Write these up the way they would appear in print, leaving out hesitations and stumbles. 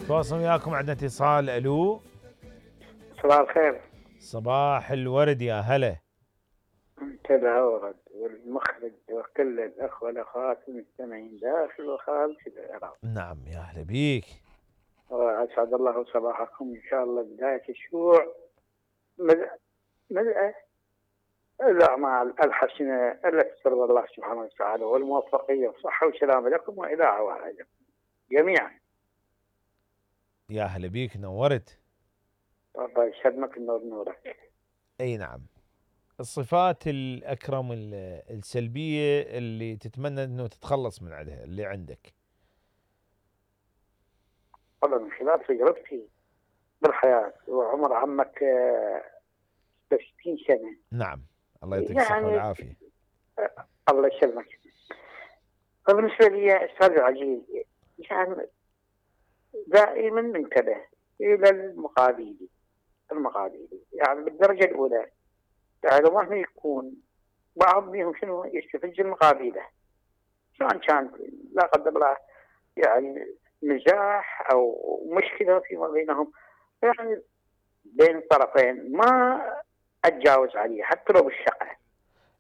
تواصل وياكم، عندنا اتصال. الو، صباح الخير. صباح الورد، يا هلا. منتدى ورد والمخرج وكل الاخوه والاخوات المستمعين داخل وخارج العراق. نعم، يا هلا بيك. واسعد الله صباحكم ان شاء الله. بدايه الشروع ملء الاعمال الحسنه التي ترضى الله سبحانه وتعالى، والموفقيه والصحه والسلامه لكم والى عوائلكم جميعا. يا هلا بيك، نورت. الله يسلمك، النور نورك. اي نعم. الصفات الأكرم السلبية اللي تتمنى أنه تتخلص من عندها، اللي عندك. والله من خلال تجربتي بالحياة وعمر عمك 60 سنة. نعم، الله يعطيك الصحة والعافية. الله يسلمك. فبالنسبة لي أستاذ العزيز، يعني دائما منتبه إلى المقابل، يعني بالدرجة الأولى، يعني ما يكون بعض منهم شنو يستفز المقابله، سواء كان لا قدر الله يعني مزاح او مشكله فيما بينهم، يعني بين الطرفين ما اتجاوز عليه حتى لو بالشقه.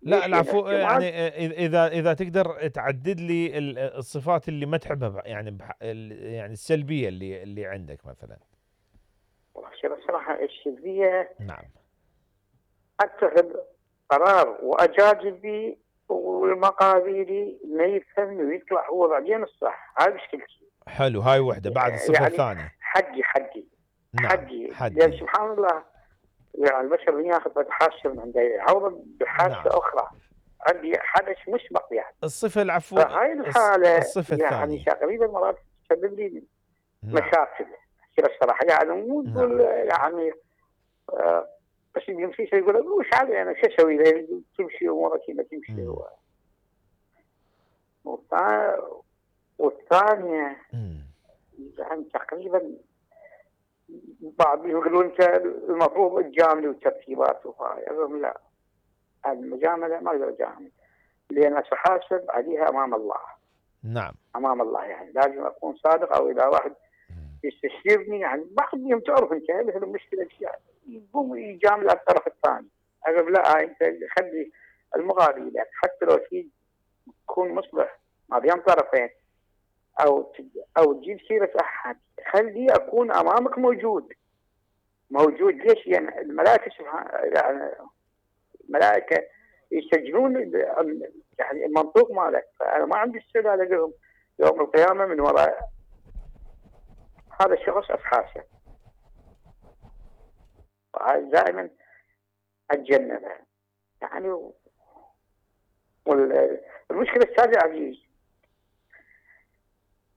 لا العفو، يعني اذا تقدر تعدد لي الصفات اللي ما تحبها، يعني يعني السلبيه اللي عندك مثلا. والله الصراحه السلبيه، نعم، اتخذ قرار واجادل به والمقابلي ما يفهم ويطلع هو بعدين الصح. هاي مشكلتي. حلو، هاي وحده. بعد الصفه يعني الثانيه حقي. نعم، حقي. لأن سبحان الله يعني البشر ياخذ حاسه من عنده يعوض بحاسه نعم. أخرى. عندي حدث مسبق يعني. الصفه العفو، فهاي الحالة الصفه يعني الثانيه تقريبا مرات تسبب لي نعم. مشاكل الصراحة. يعني مو تقول يعني بس يمشي شيء يقول وش علي أنا شو أسوي له، تمشي أمورك ما تمشي. والثانية يعني تقريبا بعض يقولون انت المفروض تجاملي وترتيبات وهاي. اقول لا، المجامله ما اقدر اجامل لان ساحاسب عليها امام الله. نعم، امام الله يعني لازم اكون صادق. او اذا واحد يستشيرني يعني بعضهم تعرف انت مثل المشكله يقوم يجامل على الطرف الثاني. اقول لا، انت خلي المقابل لك حتى لو في تكون مصلح ما بين طرفين او تجيب سيره احد، خلي اكون امامك موجود. ليش؟ يعني الملائكه يعني الملائكه يسجلون يعني المنطوق مالك. فانا ما عندي استعداد اقول يوم القيامه من وراء هذا الشخص ابحاثه. دائما اتجنبها يعني. والمشكله الثانيه عزيز،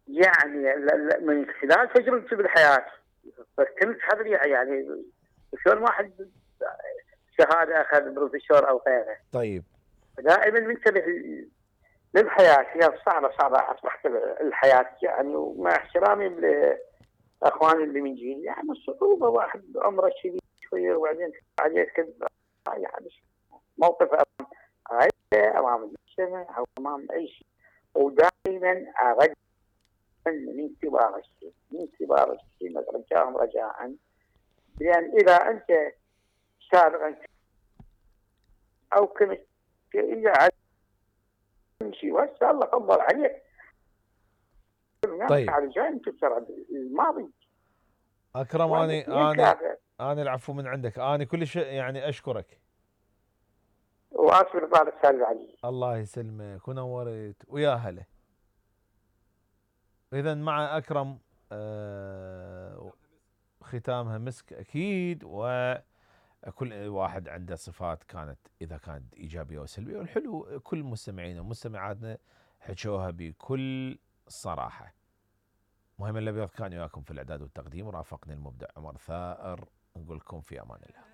يعني من خلال تجربتي بالحياه فكنت حضري يعني شلون واحد شهاده اخذ بروفيسور او غيره. طيب، دائما منتبه للحياه. هي صعبه اصبحت الحياه يعني. ومع احترامي لاخواني اللي من جيل، يعني الصعوبه واحد عمره كبير شويه وبعدين عليه كذب يعني موقف امام عائله امام المجتمع او امام اي شيء. ودائما ارد من كبار الشيء رجاء، لان اذا انت سابقا او كنت اذا شيء وهسه الله فضل عليك. طيب على جاي تكسر الماضي. اكرم، انا العفو من عندك. انا كل شيء يعني اشكرك واسف لطالب استاذ علي. الله يسلمك ونورت ويا هلا. اذا مع اكرم ختامها مسك اكيد. وكل واحد عنده صفات اذا كانت ايجابيه وسلبيه، والحلو كل مستمعينا ومستمعاتنا حكوها بكل صراحه. مهم الابيض كان وياكم في الاعداد والتقديم، ورافقني المبدع عمر ثائر. نقول لكم في امان الله.